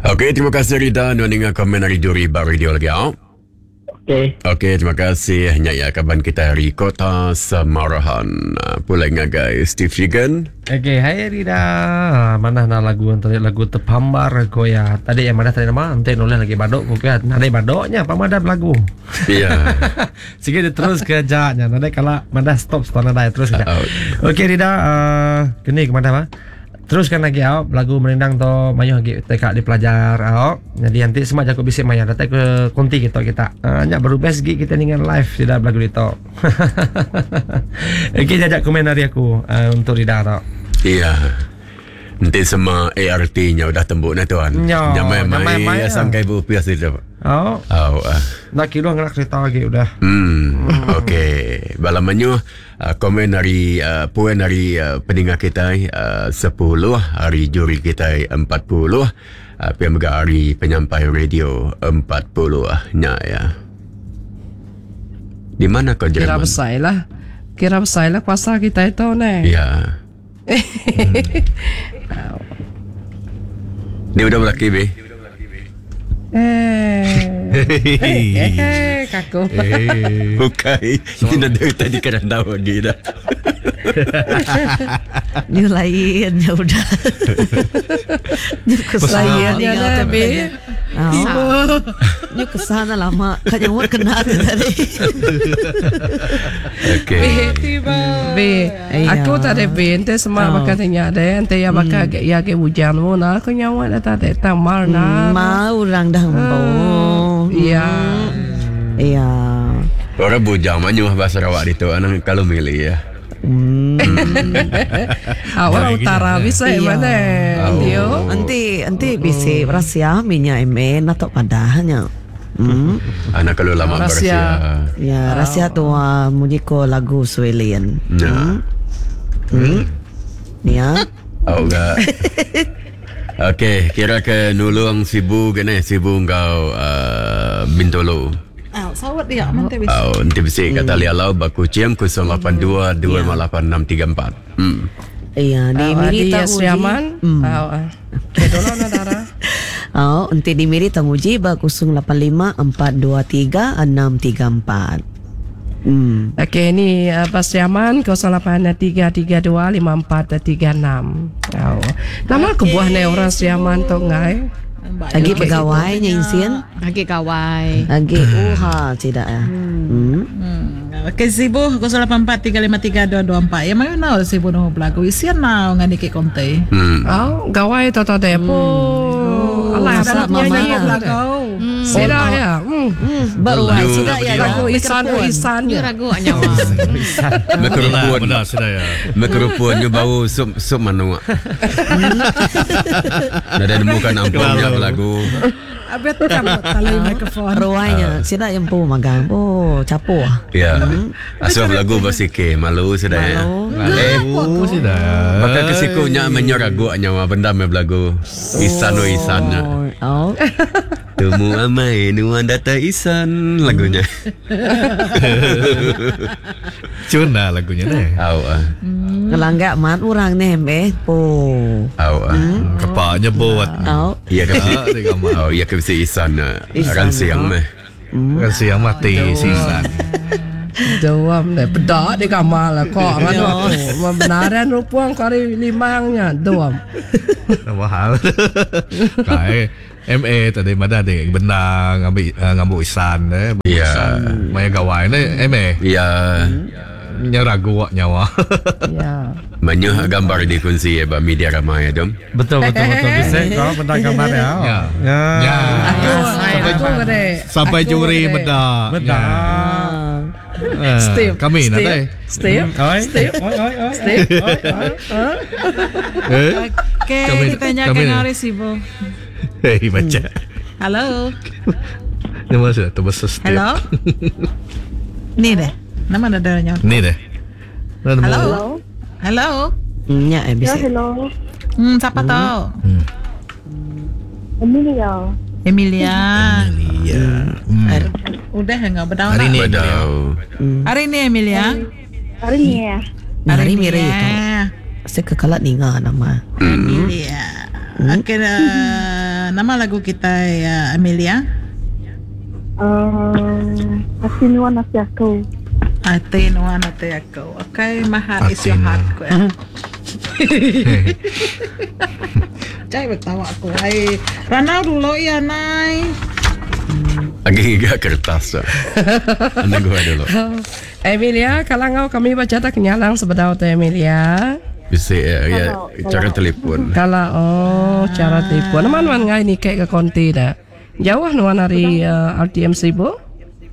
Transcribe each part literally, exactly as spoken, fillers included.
Okey, terima kasih Rida nuan ninga komen ari juri ba radio lagi au. Okey. Okey, terima kasih nya ya kaban kita ari Kota Samarahan. Pulai ngagai Steve Shigan. Okey, hai Rida. Mana nak lagu yang tadi lagu terpambar ko ya. Tadi yang mana tadi nama ente nulis lagi badok ko kan. Nadai badoknya apa madam lagu. Ya. Sikit dia terus kerjanya. Nadai kala madah stop stop nadai terus kerja. Oh. Okey Rida, uh, kini ke mana ba? Teruskan lagi au lagu merindang tu mayuh lagi tekak dipelajar au. Jadi nanti semua jago bisik maya datang ke konti kita kita. Uh, nyak baru best gig kita dengan live tidak lagu itu. Okey jajak komen dari aku uh, untuk Rida tu. Ya. Nanti semua A R T-nya udah tembuk nah tuan. Ya, Nyamai nyamai mai mai ya lah. sangkai bu pias itu. Oh, Oh. ah. nak kilo ngerak kereta lagi udah. Hmm. Okey. Bala menyuh uh, komen dari uh, poin dari uh, pendengar kita uh, sepuluh, hari juri kita empat puluh, uh, P M G hari penyampai radio empat puluh nya ya. Di mana kau Kira Jerman? besar lah. Kira besar lah kuasa kita itu ni. Ya. Hmm. Ni udah berlaki be. Eh. Eh, eh, kaku. Eh. Bukan. Ini dah dari tadi kena tahu lagi dah. Ni lain ya udah. Ni Lain ya dah, be. Oh. Ni kesana lama. Kan yang kena tu tadi. Okey. Be, Iya. aku tak ada be, ente semua Oh. bakal tanya deh, ente ya bakal hmm. ya ke hujan mu nah, aku nyawa dah tak ada tamar nah. Mau orang dah empo. Iya. Iya. Orang bujang manyuh bahasa Sarawak itu anak kalau milih ya. Hmm. Ah, orang utara bisa Iya. mana? Oh. Dia. Nanti nanti bisa rahsia minyak M N atau padahnya. Hmm. Anak kalau lama Rahsia. bersia. Ya, rahsia tu uh, munyi ko lagu Suelian. Ya. Hmm. Ya. Oh enggak. Okey, kira ke nulung Sibu ke ni, Sibu kau uh, Bintulu. Ah, sawat dia nanti bisa. Oh, nanti bisi kata lialau baku ciam kosong lapan dua dua lima lapan enam tiga empat. Hmm. Iya, di Ah, Miri di tahu Sri Aman. Hmm. Ah, ah. Okay, dulu nah Dara. Oh, nanti di Miri tanguji ba kosong lapan lima empat dua tiga enam tiga empat. Hmm. Okey, ni uh, Sri Aman kosong lapan tiga tiga dua lima empat tiga enam. Oh. Nama okay. kebuah ni orang Sri Aman tu ngai. Lagi pegawainya insin. Lagi gawai. Lagi uha tidak ya. Hmm. Okey, Sibu kosong lapan empat tiga lima tiga dua dua empat. Yang mana Sibu noh belagu isian mau ngani ke konte. Hmm. Oh, gawai tu tu deh. Oh, alah, masak dah mama nyanyi lah. belagu. Sida ya. Hmm. Baru Lalu sudah ya. Lagu Isan Isan Ni ya. ragu nyawa. Berkerupun. Benar sudah ya. Berkerupun ni bau sup sup manuk. Dah dah nemukan ampungnya belagu. Abet kamu tali mikrofon. Ruainya sida yang pu magang. Oh, capu. Ya. Asal lagu bersike malu sudah ya. Malu. Eh, Oh, sudah. Maka kesikunya menyeragu nyawa benda me belagu. Isan oh isan. Oh. Temu amai nuan data isan lagunya. Cuna lagunya deh. Au ah. Ngelanggak mat orang ni eh. Po. Au ah. Kepaknya buat. Oh. Iya ke Ah, di kamar. Oh, iya ke bisi isan. ah. Isan, Ransiang oh. meh. Kan siang mati sisan. Dua deh, pedak di kamar lah kok nganu aku. Membenaran rupuang kari limangnya dua. Nama hal. Kai M A tadi mana ada benang ambil uh, ngambil isan eh. Ya. Maya gawai ni M A. Ya. Nya ragu wak nyawa. Ya. Menyuh gambar dikunci ya ba media ramai ya dom. Betul betul betul bisa kau benda gambar ya. Ya. Ya. Ya. Aku aku deh. Sampai Aku juri deh. benda. Benda. Ya. Steve. Kami Steve, nanti. Steve. Oi. Steve. Oi oi oi. Steve. Oi oi. Eh? Okey, Kami- kita nyakan kami ni. hari Sibu. Hei baca. Halo. Ni masih tu besar Steve. Hello. Ni deh. Nama ada darahnya. Ni deh. Halo. Halo. Nya eh bisa. Hello, Hmm, siapa tahu? Hmm. Emilia. Emilia. Iya. Hmm. Udah enggak bedau Hari nak? ni. Bedau. Hari ni Emilia. Hari ni ya. Hari miri ya. itu. Saya kekalat ninga nama. Emilia. Okey. Uh, Uh, nama lagu kita uh, Amelia? Uh, Ati nuan ati aku. Ati nuan ati aku. Okay, my heart is your heart. Ko. Cai bertawa aku. Ai, ranau dulu ya nai. Agi gak kertas. Anda gua dulu. Emilia, kalau ngau kami baca tak kenyalang sebedau tu Emilia. Bisa ya, ya cara telefon. Kalau oh cara telefon. Nama nuan ngai ni kek ke konti dah. Jauh nuan dari uh, R T M Sibu?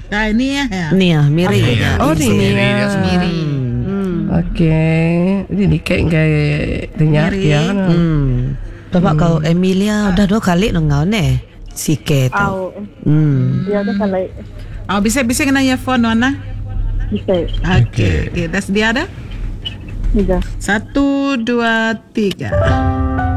Nah, ini ya. ya. Ni ah, Miri. Ya. Oh, ni Miri, ya. dia Miri. Hmm. Okey. Ini ni kek ngai dengar Miri. ya. Hmm. Sebab kau Emilia udah dua kali nengau ne. Sike tu. Au. Hmm. Ya dah kalau Oh, bisa bisa kena earphone nuan lah. bisa. Okey, okey, dah sedia dah? Tiga. Satu, dua, tiga.